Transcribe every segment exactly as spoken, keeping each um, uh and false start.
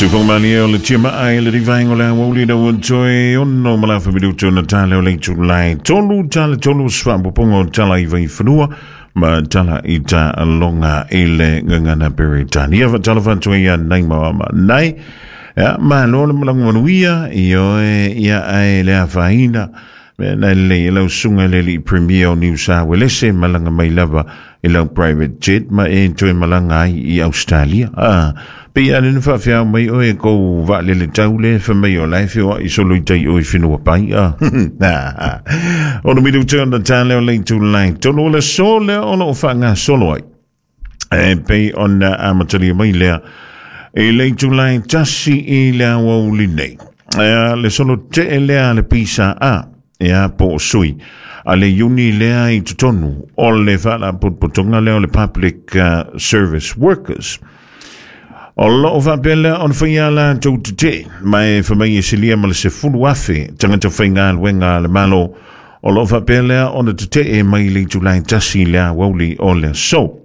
Sufongmani o le tia maa i le rivaingo le awauli na uantoe ono malafa minuto na tale o le tulai tolu tale tolu sfapopongo tala i vaifanua ma tala i ta alonga i le ngangana Peretania fa tala fatoe ia nai maama nai ia malo le malangu manuia i oe ia ae le afaina me na le lau sunga le li premier o New South Wales malanga mai lava i lau private jet ma e toe malanga ai i Australia. Ah, pe ia le whaawhiao mai oe kou wa lele taule wha mai o lai whioa i solo i tai oe whenua pai. Ah, ono miru te ona tāle o lei tūlai tolu le so lea o loo whaanga solo ai. E pe ona amatalia mai lea e lei tūlai tasi i lea wauli nei. E, le solo te e lea le pisa a ia po sui a le iuni lea i totonu o le whaalapotopotoga lea o le Public uh, Service Workers. O loo whaapea lea ona whaia la tau te mai whamai e silia ma le sefulu afe tangata whainga luenga le malo. O loo whaapea lea ona te e mai le tulai tasi lea wauli o le so.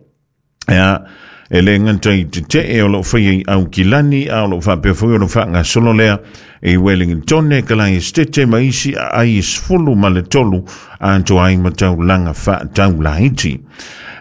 Ia, e le nganta i te te e o loo whaia i au kilani a o loo whaapea fui o loo whaanga solo lea e Wellington ka lai stete maisi a ai sfulu ma le tolu a to ai matau langa wha tau laiti.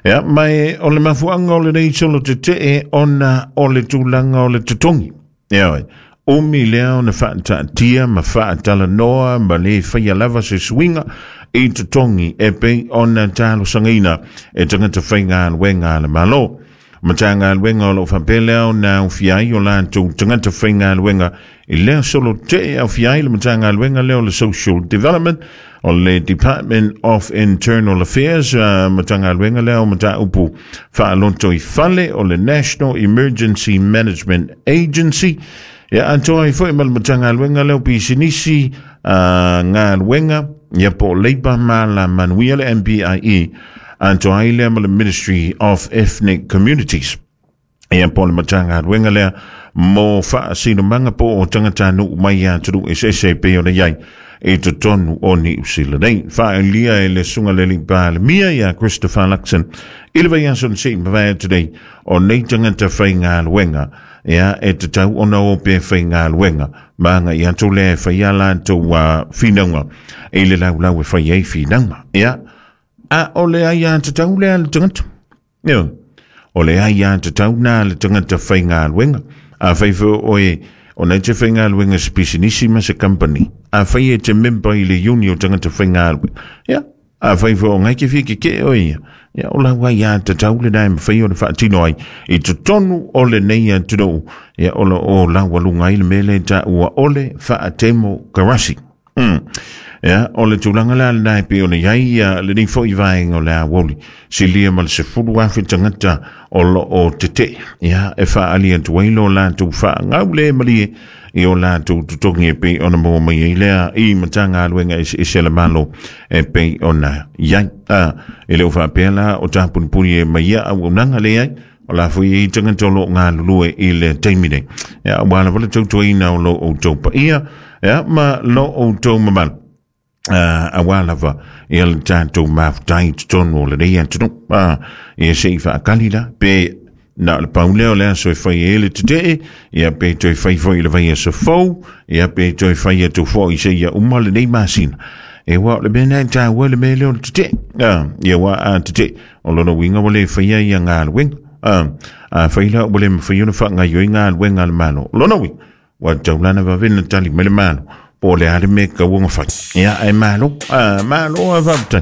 Ia, mai o le mafuanga o le nei solo te te e ona o le tūlanga o le totongi. Ia oi, umi lea o na whaatatia ma whaatalanoa ma le whaia lava se suinga i totongi e pe ona talo sangaina e tangata whainga alwenga le malo. Matanga alwenga o lo whapele o na ufiai o lātou tangata whainga alwenga i lea solo te au fiai le matanga alwenga leo le Social Development o le Department of Internal Affairs uh, matanga alwenga leo mata upu whaalonto i fale o le National Emergency Management Agency. Ia antoa i foi ma le matanga alwenga leo pisinisi uh, ngā alwenga ia po leipa ma la manuia le M B I E antoa i lea ma le Ministry of Ethnic Communities. Ia po le matanga alwenga lea mo whaasino manga po o tangata nu mai a turu S S A P o le iai e totonu o Niu Sila nei. Whaelia e le sunga le lipa le mia ia Christopher Luxon i le vai aso nse mawai today o nei tangata whainga alwenga ia e te tau ona o pe whainga alwenga maanga i atu le whaia la tau uh, whinaunga e le lau lau e whai ei whinaunga ia a o le ai a te tau lea le tangata ia o le ai a te tau nā le tangata whainga alwenga a whaifo oe o nei te whainga alwenga se pisinisi ma se company a whai e te memba i le uni o tangata whainga alwenga ia a whaifo o ngai ke whike ke o ia ia o lau ai a te tau le nai mwhai o le whaatino ai i te tonu o le nei a te rou ia o le o lau alunga i le mele ta ua ole whaatemo karasi. Mm. Ia, o le tūlanga la le nai pe o le iai ia le nei fo i vaenga o le awoli. Silia ma le sefulu afe tangata o lo o te te. Ia, e whaali atu ai lo lātou whaangau le malie i o lātou tutongi e pe ona mua mai ai lea i matanga aluenga ese ese le malo e pe ona iai. Ah, e leo whaapea la o tāpunipuni e mai ia au unanga le ai. O la fui i tangata o lo ngā lulue i le teimine. Ia, wala wala tautuaina o lo o taupa ia. Ia, ma lo o tau mamalu. Uh, a wā ia le tātou mafutai totonu o le nei atunu. Uh, ia se i whaakali la, pe na le pauleo lea so e whai e le te te, ia pe toi whai whai le vai aso fau, ia pe toi whai atu fo i se ia uma le nei masina. E wā le mea nei tā wā le mea leo le te te. Uh, ia wā a te te, o lona winga wale whaia ia ngā le winga. Uh, a whai la wale mwhai ona wha ngā yoi ngā le wenga le malo. Lona winga, wā taulana wawena tali me le malo. Po le ale me ka uonga whai. Ia, e malo, a malo a wapta.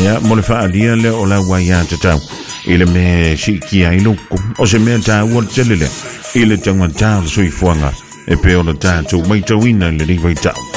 Ia, mo le whaalia le o la wai a te tau. I le me si ki ai loko. O se mea tā ua le tele lea. I le taunga tā le suifuanga. E pe o le tātou mai tauina le riwai tau.